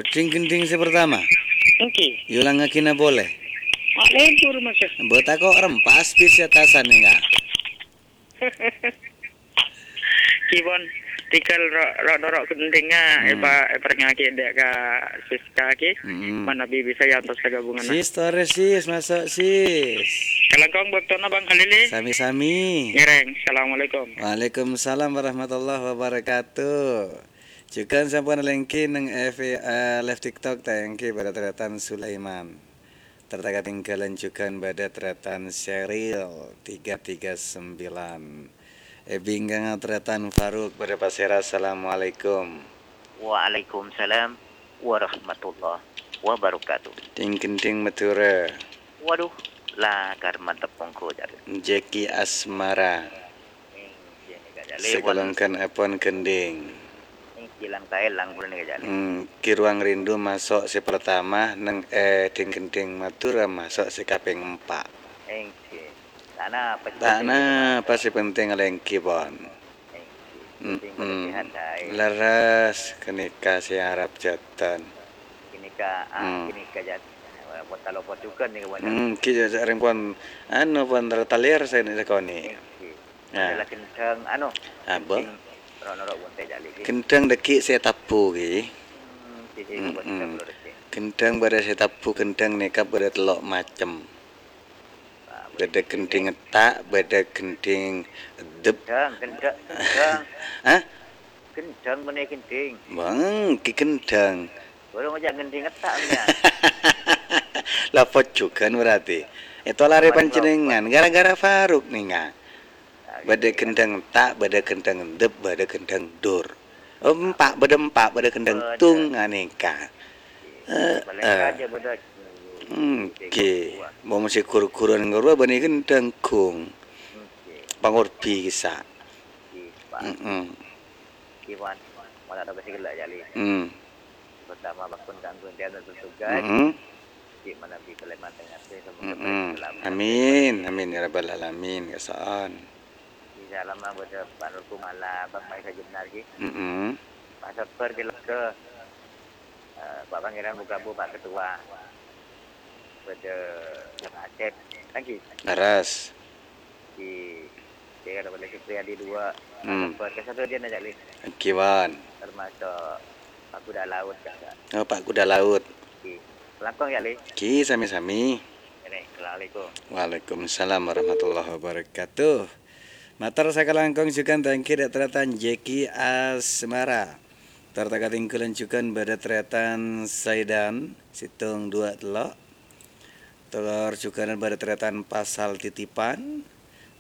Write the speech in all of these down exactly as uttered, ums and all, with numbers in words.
Dhing-ghendhing sè pertama. Èngghi. Èolangngaghi na polè. Mak lentur, Mas. Mbok tako' rempas bis sè atasan nèka. Ki pon, tèghâl ro-, ro-, noro' ghendhingnga, Hmm. èpa-, èparèngngaghi dâ' ka Siska ki. Hmm. Manabi bisa èantos ka gabungan. Sis, torè, Sis, maso', Sis. Kalangkong bâktona, Bang Khalili. Sami-sami. Ngèrèng. Assalamualaikum. Waalaikumsalam warahmatullahi wabarakatuh. Jhughân sampun alèngghi neng F B, eh, live TikTok ta' èngghi bâdâ tarètan Sulaiman. Tor ta' katèngghâlân jhughân bâdâ tarètan Sheryl tiga tiga sembilan. È bingkèngnga tarètan Faruk bâdâ pasèra, "Assalamualaikum." Waalaikumsalam warahmatullahi wabarakatuh. Dhing-ghendhing Madhurâ. Waduh, lakar mantep monggo, Cak. Jeki Asmara. Èngghi, nèka, Cak. Sakalangkong èpon ghendhing. Èngghi, langkaè lang pon nèka, Cak. Hmm, Ki Ruang Rindu maso' sè pertama, neng, eh, dhing-ghendhing Madhurâ maso' sè kapèng empa'. Èngghi. Ta' napa sè Ta' penting, napa sè penting alèngghi pon. Èngghi. Penting pada Mm-mm. Sehat, Cak. Leres, ghânèka sè arep jhâdhân. Ghânèka, ah, Hmm. Ghânèka, Cak. Walaupun ta' lopot jhughân nèka, pon. Hmm, ghi, Cak, rèng pon, anu, pon retalir sè nè sakonè'. Èngghi. Nah. Adalah ghendhing, anu, Apa? Ghendhing ro-, noro' bonte' jali, ghi. Ghendhing dâggi' sè tabbhu, ghi. Hmm, ghi, ghi, Mm-mm. Ghendhing bâdâ sè tabbhu, ghendhing nèka bâdâ tello' macem. Ah, bâdâ ghendhing etta', bâdâ ghendhing eddep. Ghendhing, ghendhing, ghendhing. Hah? Ghendhing, menè ghendhing. Bâng, ghi ghendhing. Bârung aja ghendhing etta', mènta. Lah, pojhughân berarti. Ètolarè Mari, panjhennengngan, gara-gara Faruk nèka. Bâdâ ghendhing etta', bâdâ ghendhing eddep, bâdâ ghendhing dur. Oh, empa', bâdâ empa', bâdâ ghendhing tung, anèka. Heeh. Èngghi. Mon sè ghur-ghuran ngarwa bânnè ghendhing gung. Pangorbi kissa'. Heeh. Hmm. Pertama, bhâghus kaangghuy dhiyâ bertugas. Mm-mm. Di mana di Kalimantan Tengah, semoga Mm-mm. baik selamat. Amin, amin ya rabbal alamin, ya sa'an. Di dalam bâdâ Pak Nur Kumala, Pak Maisa Jenar, ghi. Mm-mm. Pak Sabar, ghi, lega. Eh, Pak Pangeran Bukabu, Pak Ketua. Bâdâ Pak Asep, kan, ghi. Leres. Di, di, ada lagi Supriyadi dua, Hmm. Pak Sabar, kan satu dia nanya, Li. Èngghi, pon. Termasuk Pak Kuda Laut, kan, Kak? Oh, Pak Kuda Laut. Di, langkong, ya, Li? Èngghi, sami-sami. Ini, assalamualaikum. Waalaikumsalam warahmatullahi wabarakatuh. Mator sakalangkong jhughân ta' èngghi dâ' tarètan Jeki Asmara. Tor ta' katèngghâlân jhughân bâdâ tarètan Saidan, sèttong, duwâ', tello'. Tor jhughân bâdâ tarètan Pasal Titipan.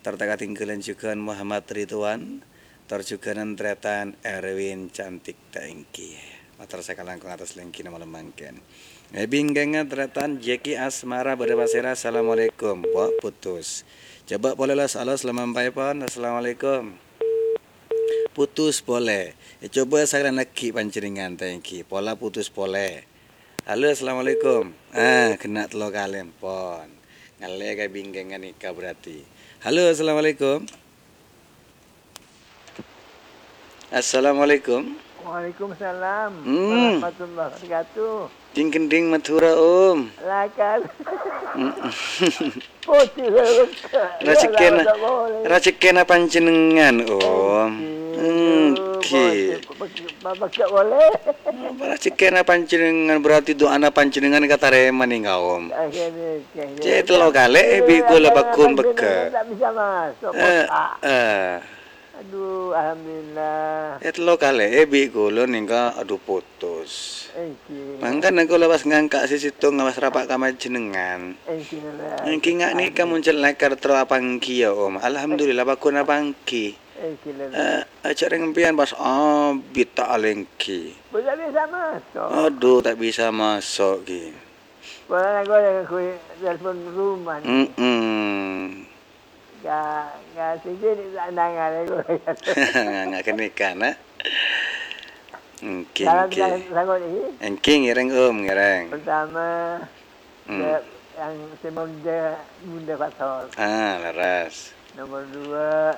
Tor ta' katèngghâlân jhughân Muhammad Ridwan. Tor jhughân tarètan Erwin Cantik ta' èngghi. Mator sakalangkong atas lènggina malem mangkèn. È bingkèngnga tarètan Jeki Asmara bâdâ pasèra, "Assalamualaikum." Wah, putus. Coba polè los-alos lem ampaèpon. "Assalamualaikum." Putus polè. È, coba sakalèyan aghi' panjhennengngan ta' èngghi. Pola putus polè. "Halo, assalamualaikum." Ah, ghenna' tello kalè, pon. Ngallè ka bingkèngnga nèka berarti. "Halo, assalamualaikum." Assalamualaikum. Waalaikumsalam Hmm. warahmatullahi wabarakatuh. Dhing-ghendhing Madhurâ, Om. Lakar. Mm. Putih, Bang. Rajhekkèna, Ya, tak boleh. Rajhekkèna panjhennengngan, Om. Èngghi. Èngghi. Bapak, Bapak, Bapak, tak boleh. Rajhekkèna panjhennengngan, berarti du'ana panjhennengngan katarèma nèka, Om. Akhirnya, akhirnya. Cè' tello kalè, è, bi' kaulâ pagghun pegghâ'. Tak bisa masuk, Pak. Eh, eh. Aduh, alhamdulillah. È, tello kalè, è, bi' kaulâ nèka, aduh, putus. Èngghi. Mangkana kaulâ pas ngangka' sè sèttong, pas rapa' ka panjhennengngan. Èngghi, Lè. Èngghi, nga' nèka mon cè' lakar terro apangghi, ya, Om. Alhamdulillah, pagghun apangghi. Èngghi, Lè. Eh, ajhâ' rèng empèyan pas abit ta' alèngghi. Bu, ta' bisa masuk. Aduh, ta' bisa masuk, ghi. Pola nangko yang kui telepon rumah ni. Mm-mm. Ga, ga sini ni tak nangan aku. Nga' kene kana. Èngghi, Dalam èngghi. Sang-, sanggup ni. Èngghi, ngèrèng, Om, ngèrèng. Pertama, Hmm. ke, yang si Munda, Munda Pastor. Ah, leres. Nomor dua,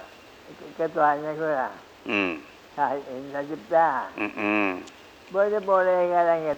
ke-, ketuanya aku lah. Hmm. Sahid Indra Cipta. Mm-mm. Boleh, boleh, ngarang ya.